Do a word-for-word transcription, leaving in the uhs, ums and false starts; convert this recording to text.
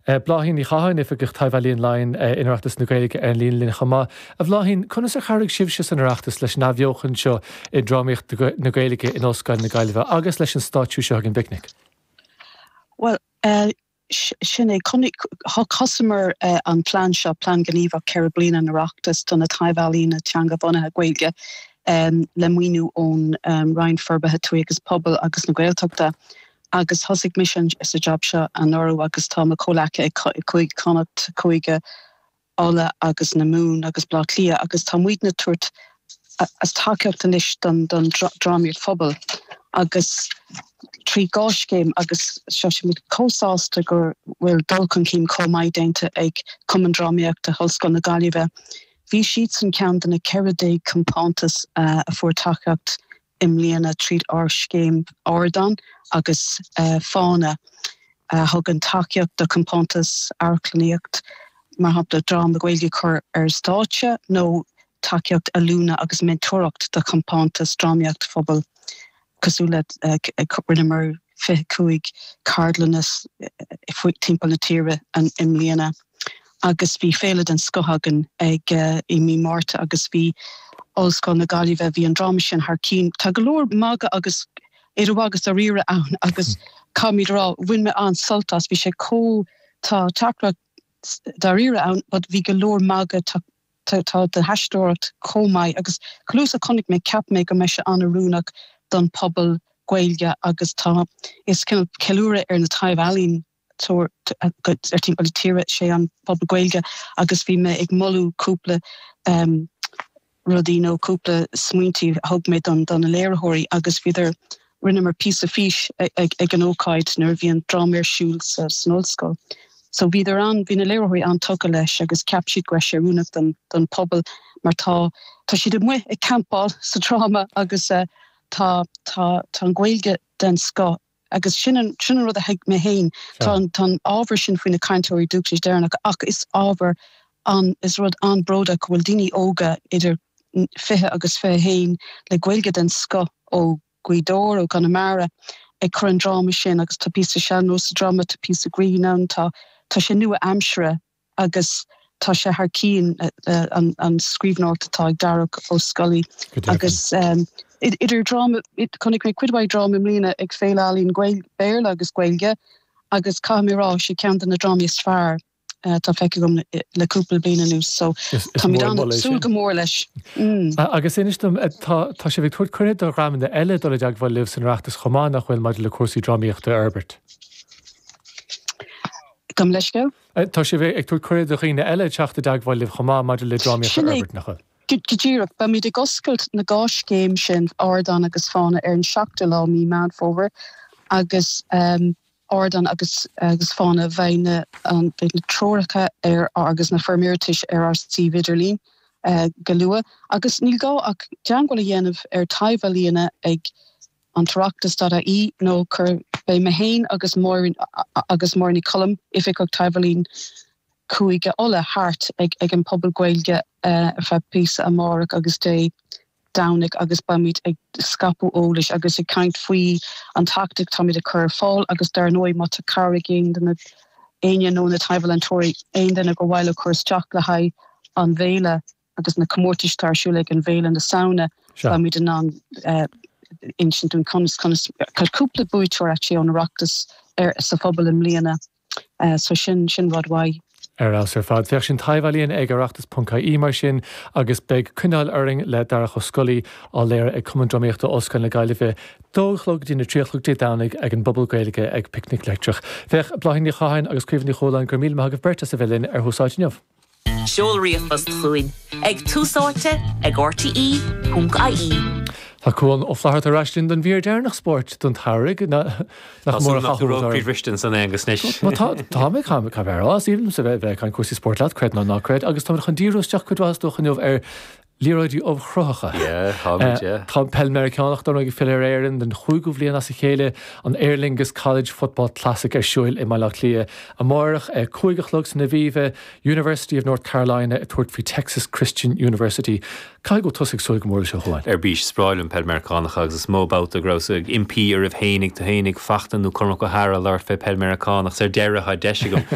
Bláithín Ní Chatháin, Oifigeach Taibh-Ealaíon Laighean in Oireachtas na Gaeilge, ar an líne linn chomh maith. A Bhláithín, conas ar chabhraigh sibhse san Oireachtas leis an athbheochan seo i drámaíocht na Gaeilge in Ollscoil na Gaillimhe agus leis an stáitsiú seo ag an bPicnic? Well, uh, sin é thosaíomar uh, an plean seo, plean gníomhach ceithre bliana an Oireachtas do na taibh-ealaíona teanga-bhunaithe Gaeilge um, le maoiniú ón um, Roinn Forbartha Tuaithe agus Pobail agus na Gaeltachta. Agus thosaigh mise sa job seo anuraidh agus tá mo chomhghleacaithe ag Cúige Chonnacht, Cúige Uladh agus na Mumhan agus Bleá Cliath agus tá muidne ag tabhairt as tacaíocht anois don don drámaíocht phobail agus trí dhá scéim agus seo muid chomh sásta go bhfuil dul chun cinn chomh maith déanta ag Cumann Drámaíochta Ollscoil na Gaillimhe. Bhí siad san ceann de na ceithre déag compántas uh, a fuair tacaíocht i mbliana tríd ár scéim Ardán agus uh, Fána uh, thugann tacaíocht do compántas amharclannaíocht, mar shampla dráma Gaeilge chur ar stáitse nó tacaíocht oiliúna agus mentóireacht do compántas drámaíocht phobail cosúil le uh, rinneamar fiche cúig ceardlanna timpeall na tíre an i mbliana. Agus bhí féile den scoth againn ag uh, i mí Márta agus bhí Ollscoil na Gaillimhe, bhí an dráma sin thar cinn. Tá go leor magadh agus idir agus dáiríre ann agus caithfidh mé rá bhain mé an-sult as, bhí sé có tá teachtaireacht dáiríre ann, but bhí go leor magadh tá tá de haisteoireacht chomh maith agus cluas a chonaic mé cheap mé go mbeidh sé an-oiriúnach don pobal Gaeilge agus tá is ceiliúradh ar na taibh-ealaíona ar timpeall na tíre sé an pobal Gaeilge agus bhí mé ag moladh cúpla um, rudaí nó cúpla smaointí a thug mé don don na léiritheoirí agus bhíodar rinneamar píosa fís ag, ag an ócáid nuair a bhí an dráma ar siúl sa san ollscoil. So bhíodar an bhí na léiritheoirí an-tógtha leis agus cheap siad go raibh sé oiriúnach don don pobal mar tá tá siad amuigh ag campáil sa dráma agus uh, tá tá tá an Ghaeilge den scoth agus sin an sin an rud a thuig mé féin tá tá an ábhar sin faoi na cainteoirí dúchais Éireannacha ach is ábhar an is rud an-bhródach go bhfuil daoine óga idir fiche agus fiche haon le Gaeilge den scoth ó Ghaoth Dobhair ó Chonamara ag cur an dráma sin agus tá píosa sean-nós sa dráma tá píosa grinn ann tá tá sé nua-aimseartha agus tá sé thar cinn an, an scríbhneoireacht atá ag Darach Ó Scolaí agus um, idir dráma chonaic mé cuid mhaith dráma i mbliana ag Féile Ealaíon Béarla agus Gaeilge agus caithfidh mé rá sé ceann de na drámaí is fearr uh, tá feicthe agam le, le cúpla bliain anuas so tá súil go mór leis. Mm. Agus inis dom tá tá sibh ag tabhairt cuireadh do dhreamanna eile dul i dteagmháil libh san Oireachtas chomh maith nach bhfuil maidir le cúrsaí drámaíochta a fhorbairt. Gabh mo leithscéal? Tá sibh ag tabhairt cuireadh do dhaoine eile teacht i dteagmháil libh chomh maith maidir le drámaíocht a fhorbairt nach bhfuil. Go díreach beimid ag oscailt na dhá scéim sin Ardán agus Fána ar an seachtú lá mí Meán Fómhair agus um, Ardán agus agus Fána bheidh na an beidh na treoracha ar agus na foirm iarratais ar ár suíomh idirlín uh, go luath agus níl gá ach teagmháil a dhéanamh ar taibh-ealaíona ag an toireachtas dot I E nó cur beidh mé féin agus Máirín agus Máirín Ní Choilm Oifigeach Taibh-Ealaíon Chúige Uladh thart ag ag an pobal Gaeilge uh, ar feadh píosa amárach agus Dé Domhnaigh agus beimid ag scaipeadh eolais agus ag caint faoi an tacaíocht táimid ag cur ar fáil agus dar ndóigh má tá cara ag aon duine éinne nó na taibh-ealaíontóirí aon duine gur mhaith leo cur isteach le haghaidh an bhféile agus na comórtais atá ar siúl ag an bhFéile na Samhna beimid in ann uh, insint dún conas conas cúpla buaiteoir actually ón Oireachtas ar sa phobal i mbliana uh, so sin sin rud mhaith. Ar fheabhas ar fad. Féach sin taibh-ealaíon ag oireachtas ponc I E mar sin agus beidh Coinneáil Orainn le Darach Ó Scolaí á léiriú ag Cumann Drámaíochta Ollscoil na Gaillimhe dó chlog dtí na trí chlog Dé Domhnaigh ag an bpobal Gaeilge ag Picnic Leictreach. Féach Bláithín Ní Chatháin agus Caoimhe Ní Chualáin gur míle maith agaibh beirt as a bheith linn ar Thús Áite inniu. Seol ríomhphost chugainn ag túsáite ag R T E ponc I E. Tá Cuan Ó Flatharta ar ais linn don mhír deireanach spóirt don tsamhradh nach mór a Bhristin san agus anois. Tá mé ca bheith sílim sa bheith bheith an cúrsaí spóirt leat creid nó ná creid agus tá chun díriú isteach cuid mhaith dó inniu ar liathróidí ubhchruthacha. Tá peil Meiriceánach don ag filleadh ar Éirinn den chúigiú bliain as a chéile an Aer Lingus College Football Classic ar siúl i mBaile Átha Cliath. Amárach ag cúig a chlog san Aviva University of North Carolina ag tabhairt faoi Texas Christian University. Caithfidh go bhfuil tusa ag súil go mór seo chuáin. Ar bís is breá liom peil Meiriceánach agus is mó babhta go rabhas ag impí oraibh féinig tú féinig fachta nó Cormac O'Hara labhairt fé peil Meiriceánach ar deireadh deis agam.